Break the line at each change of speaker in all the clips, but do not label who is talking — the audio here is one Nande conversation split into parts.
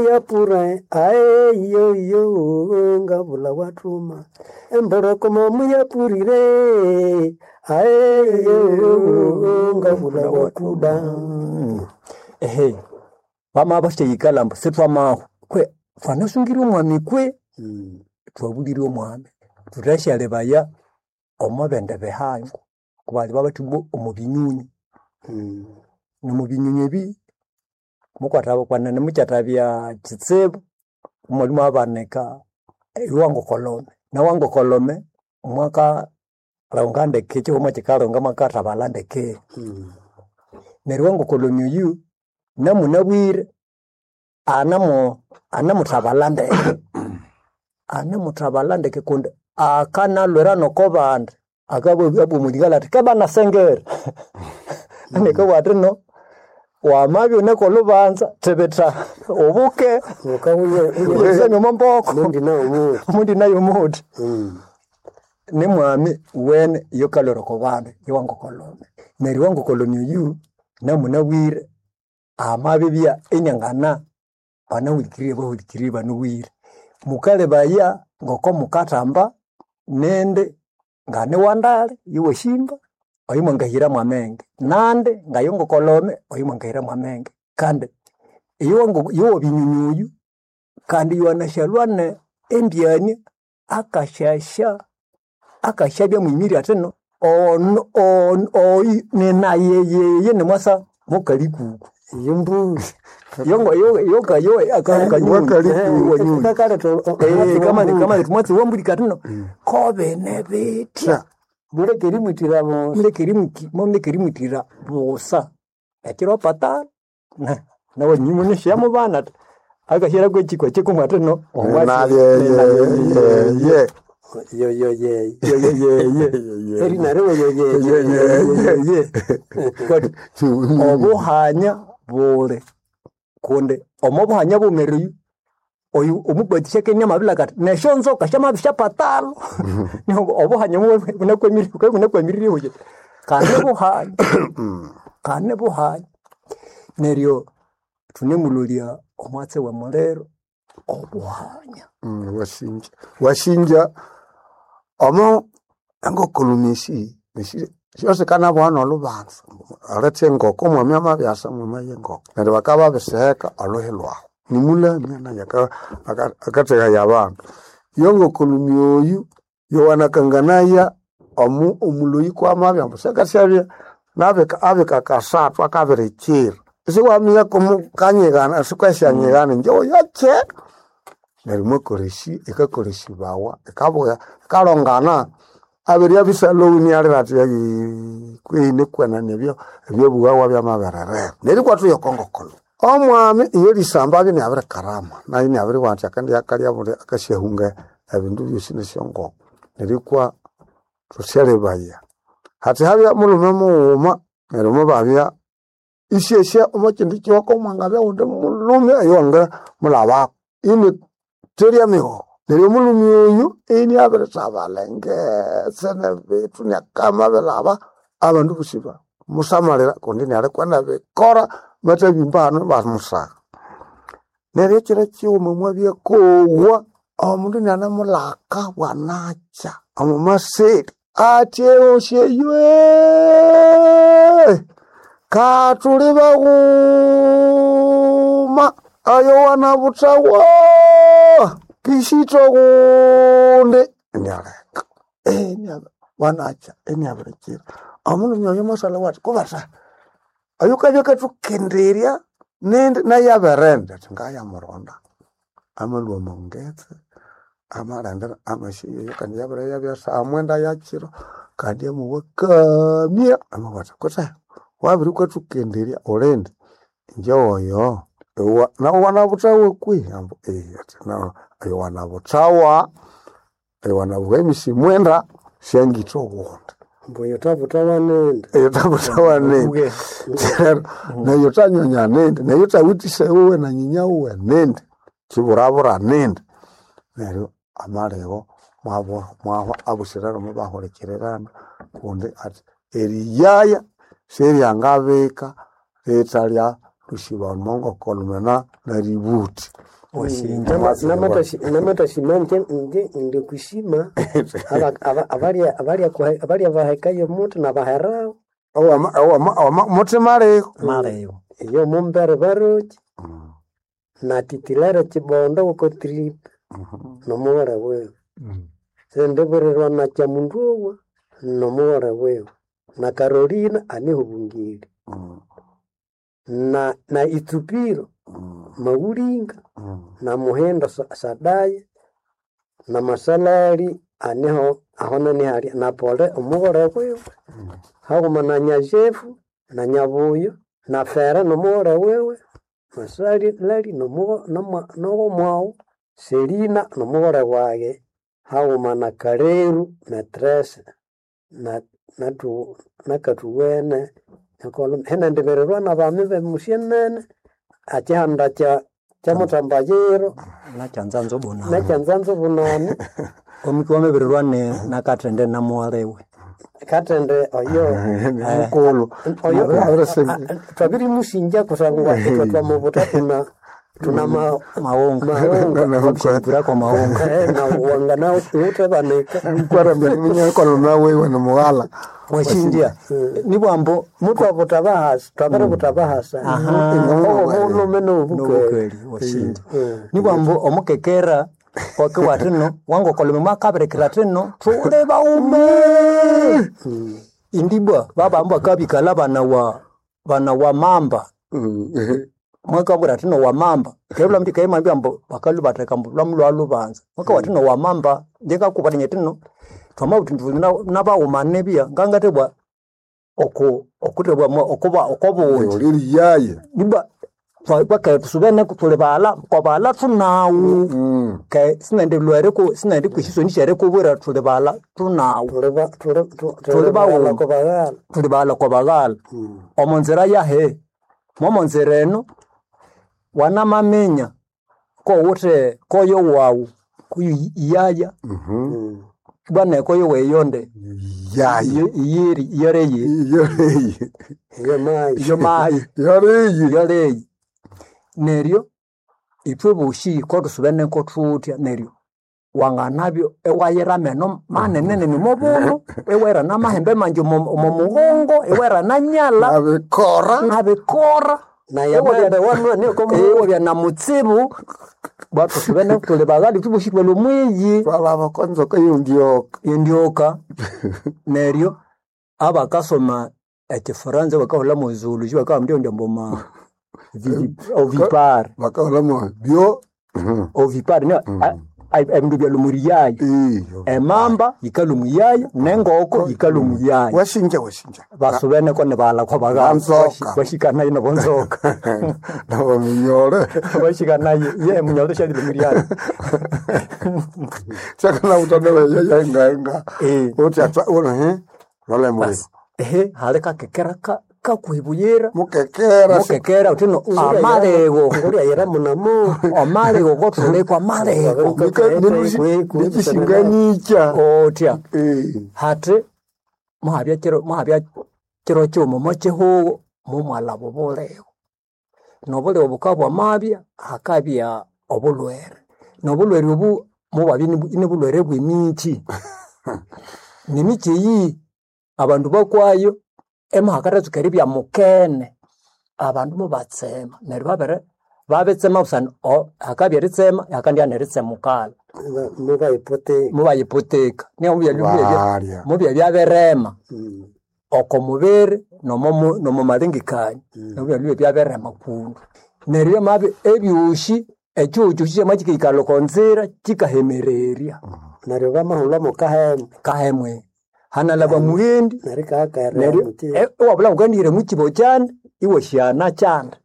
Yapura ae yo yo ngabula watuma emborokoma muyapurire ae yo ngabula wakuda.
Ehe, vamava vasyayikala ambu sithwamahwa kwe thwanasungire omwami kwe twabulire omwami thuthasyalyebaya omo bindi bihango kubali babathi ibwa omo binyunyu. Nomo binyunyu ebi mukwatha kwenene mukyathabya kitsibu imwabya imwabanika ewangokolhome nawangokolhome mwakalhunga ndeke ekyihuma kyikalhunga mwakathabalha ndeke. Neryo ewangokolhome oyu namunabwire anamo anemuthabalha ndeke anemuthabalha ndeke kundi akanalhwira noko bandi akabya abugha omwa lingala athi kebana sengere nikabugha athi no wamabya iwune kolhubanza thibitha ubuke wusamye omo mboko omundi nayo omuthi. Nimwami wene iyokalhwira oko bandu yowangokolhome. Neryo owangokolhome oyu namunabwire amabibya iniangana banahulikirire bahulikirire banabwire. Mukalebaya ngoko mukathamba nindi nganiwandali iwasyimba oyo mwangahira mwamenge nandi ngayongokolhome oyo mwangahira mwamenge kandi yowabinyunyu oyu kandi yowanasyalywa ne embyania akasyasya akasyabya mwimiri athi no ono ono oyu ninayeyeye nimwasa mukalikuku yokanyunyu wambulika athi no kobene bithya
Muleke erimwithira bosa.
Muleke erimwithira busa ekiro patara nawanyuma nishyamubana athi akahyiraku ekyikwa kyikumwe athi no
Nayeyeye.
Yoyoyeye.
yeyeye
Eri naryo yoyoyeye.
Obuhanya buli kundi omo buhanya bumereyu oyu omubatisha kenya mabilaka athi nesyonzoka syamabisyapatalho niho obuhanya bunakwamirire huye kane buhanya kane buhanya neryo thunemulolya omwatsi womuliro obuhanya.
Wasinja wasinja omo engokolhome esi syosikanaboha nolhubanza aletha engoko omwami amabyasa mwama yengoko neryo bakabya babisiheka olhuhi lhwahu nimulamya naye akathehaya abandu. Yongokolhome oyu yowanakanganaya omuloyi kwamabya ambu syakasyabya abika kasathu akabirikyira isiwaminya kumukanyighana sikwesyanyigana inje oyache neryo mwakolesya ikakolesyabawa ikabuya ikalongana abirya bisalhowi inialira athi kwehi nikwenene ebyo ebyobughawa byamabererera. Neryo ikwathuya okwa ngokolhome omwami iyo erisamba abya inabirikarama nayo inabiribugha athi akandiyakalya buli akasyahunga ebindu byosi nesyongoko neryo ikwa thusyalebaya. Hathi habya mulhume mughuma neryo mubabya isyesya omo kyindi kihoko mwangabya ghundi mulhume oyo wangamulhabako ini therya emighoko. Neryo omulhume oyu iniabirithabalha engetse nebithu iniakamabilhaba abandu bosi bamusamalira kundi inialikwa nebikora mathabimba hanu ibamusagha. Neryo ekyiro kyighuma mwabya kowa omundu inianemulhaka bwanakya omo maseli athi eghosya eyo kathuli baghuma oyowanabuthawa kishitha ghundi inialeka bwanakya iniabirikira. Omulhume oyo mwasalhawo athi kubatha oyukabya akathukenderya nindi nayo abirindi athi ngayamuronda. Amalhwa omo ngetse amalhangira amasyayeyo kandi yabiriyabya saha mwenda yakyiro kandi amowa kamya amabugha athi kutse wabirikwathukenderya ulindi inje oyo nawu wanabuthawa kwihi ambu athi oyo wanabuthawa oyo wanabugha emisi mwenda syangitha obundi.
Mbu oyo thabuthawa nindi.
Eyo thabuthawa nindi neyo thanyonya nindi neyo thawithe isewuwe na nyinya wuwe nindi kyiburabura nindi. Neryo amaligho mwahwa abosi rero mubahulikirirana kundi athi eriyaya siryangabika lhithalya lhusiba omo ngokolhome neributhi.
Washinja.
Namatashima ndi kushima abalya bahekayo omuti nabaherawo
Mutima aliho.
Maleyo.
iyo mumbere baroki na titilere chibondo uko trip nomughore wiwe sendibirirwa na kyamunduwa nomughore wiwe na Carolina anihubungire na itsupiro maulinga na muhindo Sadaya na masalali aniho ahona nihali na pole omughore wiwe haghuma na Nyajefu na Nyabuyo na Fera nomughore wiwe Masalali nowomwawu Selina nomughore wage haghuma na Kaleru metrese na nakathuwene henendibirirwa nabami bemusyenene akihanda kya kyamuthambayiro
Nakyanzanza obunani.
nakyanzanza obunani
Omuki wamebirirwa ne nakathende namuwalewe.
kathende oyo
Mukulu.
oyo twabirimusinja kusangwa ithwe twamubuta tuna tuna
Mawonga.
mawonga
Wabushingirako mawonga.
Nawanga nawe utebanika
Nkwarambya minyakono nawe ni mughala.
Washinja. Nibwambo
mutwabuta bahasa twabiributa bahasa obo bulume nobukeli
nobukeli washinja. Nibwambo omukekera wake watino wangokolome mwakabirekera tino thule baume. Indibwa babambo akabikala bana wa mamba. Mwakabwira tino wa mamba kebula mti kaimambia mbo bakalubateka mbo lwamu lwalubanza mwaka watino wa mamba ndikakubatinya tino twamabuti nabaumane bia ngangatebwa oku okutebwa okuba okobungi
Oliri yaye.
nibwa twakae tusubene tuli bala kwabala tunawu ke sinende lwere ku sinende kwishisoni shere kubwira tuli bala tunawu
tuli
bawuma.
kubaghala
tuli bala kwabaghala omo nzira yahe momo nzira eno wanamaminya kowuthe koyo wawu kuyu iyaya bwana koyo weyonde
Yaye.
iyiri iyoreyi
Yoreyi.
iyo mayi
iyo mayi
Yoreyi.
yoleyi neryo ithwe boshi kotusubene kothutya neryo wanganabyo ewayira ameno manenene nimobunu ewera namahembe manji omo mugongo ewera nanyala
Nabikora.
nabikora
naye amembe wanwa niko
ewabya na mutsibu bwatusubene tuli baghali thuboshi twali omwiyi
Twalaba konzoka yondioka.
indyoka neryo abakasoma ekifaransa bakahulha mu zoology bakahamba ndio mboma ovipare
Bakahola mo bio.
ovipare ne ebindu byalumuriyaya
Iyo.
emamba yikalumuyaya nengoko yikalumuyaya
Washinja washinja.
basubeneko nibalakwa baghala
Banzoka.
bashikanaye nabonzoka
Nabo minyore.
bashikanaye ye munyalo shalilumuriyaya
Chakana utane yenga yenga.
Eh.
Uti atwa uno he. Lole muri.
ehe hali kakekera kakwibuyira
Mukekera.
mukekera utino amalego
nguria yira munamo
amalego kotulekwa amalego
Nikishinganicha.
otya
Eh.
hati muhabya kiro muhabya kiro kyuma mokihugo mumwalaba obulego nobulego bukabwa mabya hakabya obulwere nobulwere obu mubabya nibulwere bwemikyi nemikyi eyi abandu bakwayo emuhakaratsuka eribya mukene abandu mubatsema neryo babere babitsema busana hakabya eritsema hakandya neritsemukala
mubayipoteka
mubayipoteka niyo
Balya.
mubya byabirema oko mubiri nomo malengekania nobya byabirema kundu neryo mabi ebyoshi ekyocho kyama kikaikalha oko nzira kikahemererya
neryo bamahulha mukahembe
kahemwe hanalaba mughendi
neryo ikahakaira
neryo
muti
iwabula ngukandihira mukibo kyanda iwasyana kyanda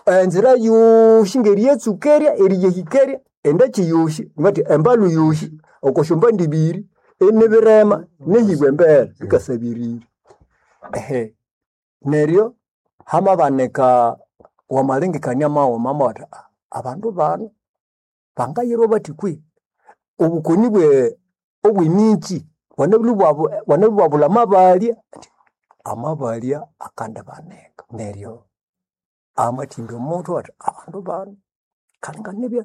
enzira yoshi ngerietsukerya eriyehikeria endaki yoshi ngati embalu yoshi okosyomba ndibiri enibirema nehibwa embere bikasabirire ehe neryo hamabanika wamalengekania maghuma mawatha "Ah, abandu bano bangayirwa bathi kwi obukoni bwe obwemikyi bwanabulhu amabalya amabalya akandibanika neryo amathimba omuthu athi abandu bano kalinga nibya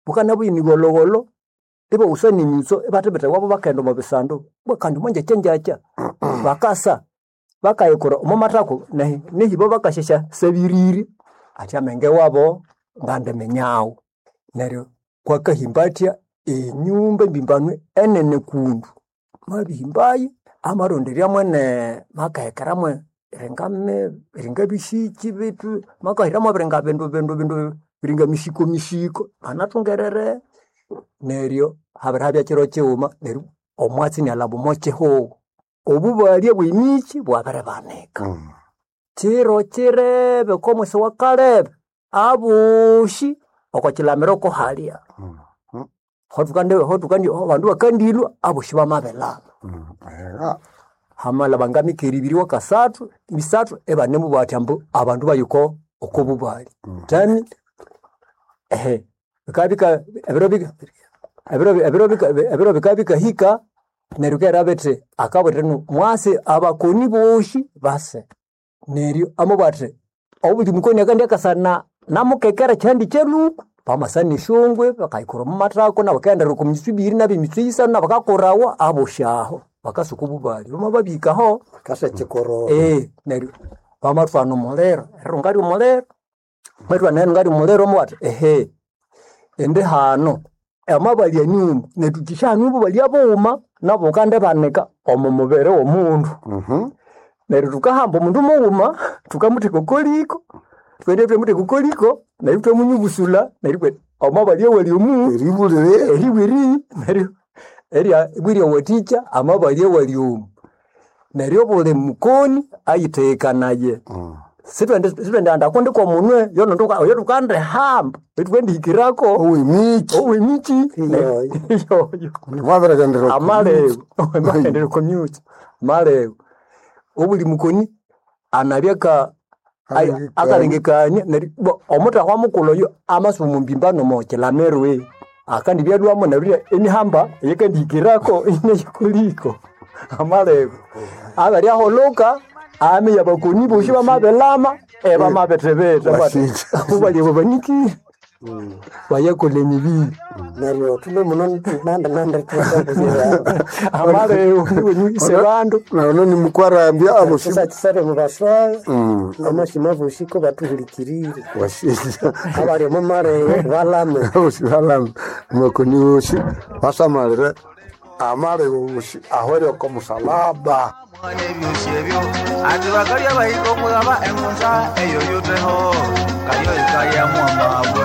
Bukana buyini gologolo ibawusa n'enyuso ibathibitha iwabo bakaghenda omo bisandu bwa kandi mwanjakya njakya bakasa bakayikura omo mathako nehibo bakasyasya sabiriri athi amenge wabo ngandiminyagho. Neryo kwakahimba athya enyumba embimbanu enene kundu mabihimbayo amaronderya mwene makahekera mwe ringa bisiki bitu makahira mwabiringa bindu bindu bindu biringa misiko misiko banathungerere neryo habirihabya kiro kighuma neryo omwatsi inalhaba omo kihugho. Obubalya bw'emikyi bwabiribanika. Kiro kirebe okwamwisi wa Kalebe abosi oko kilamiro kuhalya. Hotukandi abandu bakandilhwa abosi bamabilaba. Hamalhaba ngamikere ibiri wakasathu misathu ibanemubugha bathi ambu abandu bayiko oko bubalya. Then bikabya ebiro bikabya bikahika neryo bikahera bithi akabwira inu mwasi abakoni bosi base. Neryo amabugha athi obuli mukoni akandya akasana namukekera ekihandi kyeluku bamasana esyongwe bakayikura omo mathako nabo bakaghendera oko mitsu ibiri nabo emitsu isano nabo bakakurawa abosi aho bakasuka obubalya. Bamababihikaho
Kasa chikororo.
Neryo bamathwana omuliro erirunga ry'omuliro bamathwana erirunga ry'omuliro amabugha athi ehe indi hano amabalya nyuma nethu thukisyaghana obubalya bughuma nabo bukandibanika omo mubiri w'omundu. Neryo thukahamba omundu mughuma thukamutheka oko liko thwaghenda thwamutheka oko liko neryo ithwamunyubusulha neryo ibwa amabalya awali omu
Eribulire
eribwa eri neryo erya ibwa eryawathikya amabalya awali omu. Neryo obuli mukoni ayitheghekanaye. Sithwendighanda kundi kw'omunwe oyo thukandihamba oyo
owemikyi
owemikyi
Iyoyo.
iyoyo
mwabirighendera
amalego amahendera komyuki amalego obuli mukoni anabya ka
Alengekania.
akalengekania neryo ibwa omuthahwa mukulhu oyo amasa omu mbimbano omo kilamiro akandibyalhwamo neryo emihamba eyikandihikirako inayikoliko amalego abiryahulhuka amiya abakoni bosi bamabilama ebamabithibitha
Wasinja.
obubalya babanikire bayakolha emibiri
Neryo thume muno nandi nandi tusakuziba.
amalego niwenyuhise bandu
naono nimukwarambya abosi
Tusakisare mubaswayo namashima bosi ko batuhulikirire.
wasinja
Abali omu maleyo balame.
abosi balame makoni wosi basamalire amalego wosi ahwere oko musalaba
Mwana ebyosi ebyo ati bakalya bahika okulaba engunza eyo yuteho kayo ikayamwamabwe.